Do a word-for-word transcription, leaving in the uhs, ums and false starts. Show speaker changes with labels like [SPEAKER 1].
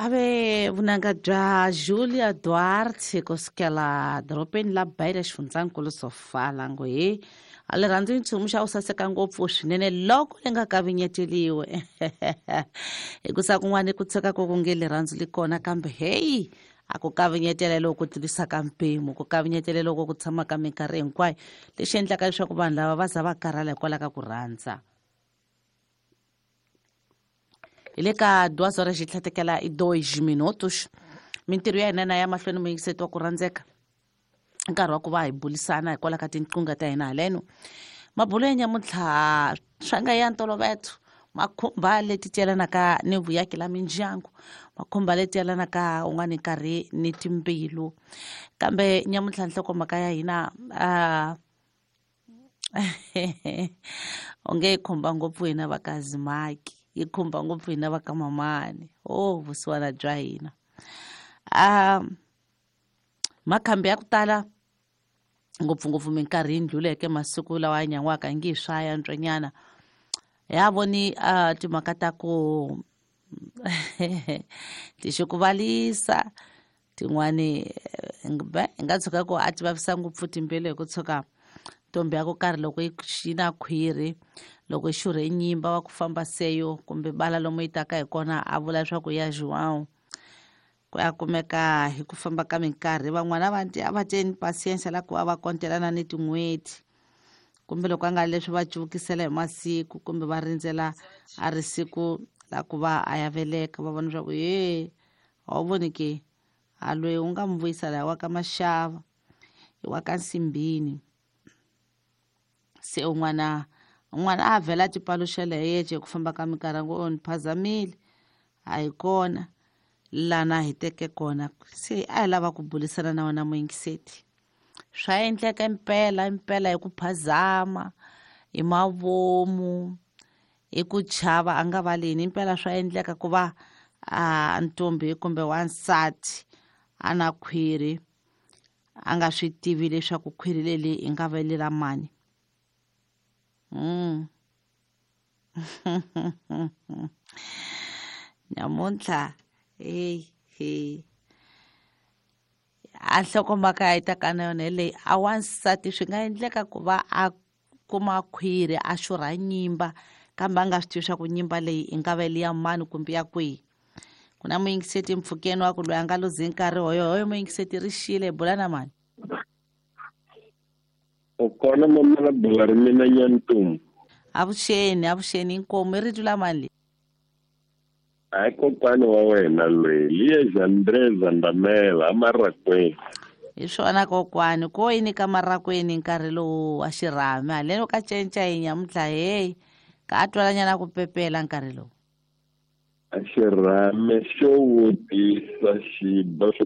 [SPEAKER 1] Ave vunanga bya Julia Duarte kusukela dorobeni la Beira xifundzankulu Sofala ngo he a le rhandzi nchumu xa ku saseka ngopfu swinene loko li nga kavinyeteliwe hikusa kun'wana ku tshuka ku ku nge rirhandzu li kona kambe heyi a ku kavinyetela loko ku tlurisaka mpimo ku kavinyetela loko ku tshama ka minkarhi hinkwayo lexi endlaka leswaku vanhu lava va za va karhala hikwalaho ka ku rhandza. Hi le ka duas horas xi tlhatekela i dois minutos mintirho ya hina na ya mahlweni muyingiseti wa ku rhandzeka nkarhi wa ku va hi bulisana hikwalaho ka tinqingho ta hina haleno mabulo ya nyamuntlha swa nga ya ntolovelo makhumba leti yelanaka ni vuyaki la mindyangu makhumba leti yelanaka un'wana nkarhi ni timbilu kambe nyamuntlha nhlokomhaka ya hina uh, onge yi khumba ngopfu hina va ka Zimaki yi khumba ngopfu hina va ka Mamani oh vusiwana bya hina um makhambi ya ku tala ngopfungopfu minkarhi yi ndluleke masiku lawa ya nyan'waka ngi hi swa ya ntswanyana ya voni uh, timhaka ta ku tixikuvalisa tin'wani hi nga tshuka ku a ti vavisa ngopfu timbilu hi ku tshuka ntombi ya ku karhi loko yi na khwiri loko yi xurhe nyimba wa ku famba seyo kumbe bala lomu yi taka hi kona a vula leswaku ya João ku ya kumeka hi ku famba ka minkarhi van'wana va a va teni patience la ku va va kontelana ni tin'hweti kumbe loko a nga leswi va cuvukisela hi masiku kumbe va rindzela a ri siku la ku va a ya veleka va vona leswaku ye a wu voni ke a loyi u nga mu vuyisa laha wa ka Maxava i wa ka Nsimbini se un'wana un'wana a vhela a tipaluxela hi yexe hi ku famba ka minkarhi ngo ni phazamile a hi kona lana hi teke kona se a hi lava ku bulisana na wena muyingiseti swa endleka impela impela hi ku phazama hi mavomu hi ku chava a nga valeni impela swa endleka ku va a ntombi kumbe wansati a na khwiri a nga swi tivi leswaku khwiri leli i nga va lela mani. Mm. Nyamuntlha hey hey a nhlokomhaka yi ta ka na yona hi leyi a wansati swi nga endleka ku va a kuma khwiri a xurha nyimba kambe a nga swi tivi swa ku nyimba leyi i nga va ya mani kumbe ya kwihi. Ku na muyingiseti mpfhukeni wa ku loyi a nga luzi nkarhi hoyo hoyo muyingiseti ri xile hi bula na mani.
[SPEAKER 2] U kona mama la bula ri mina Nyantumbu.
[SPEAKER 1] Avuxeni avuxeni inkomu i rito la mani leyi?
[SPEAKER 2] Hayi kokwani wa wena loyi liye André Zandamela amarakweni.
[SPEAKER 1] Hi swona kokwani ko yini ka marakweni nkarhi lowu wa xirhami haleno ka cinca hi nyamuntlha heyi ka a twalanyana ku pepela nkarhi lowu.
[SPEAKER 2] A xirhami xo vutisa xi ba swo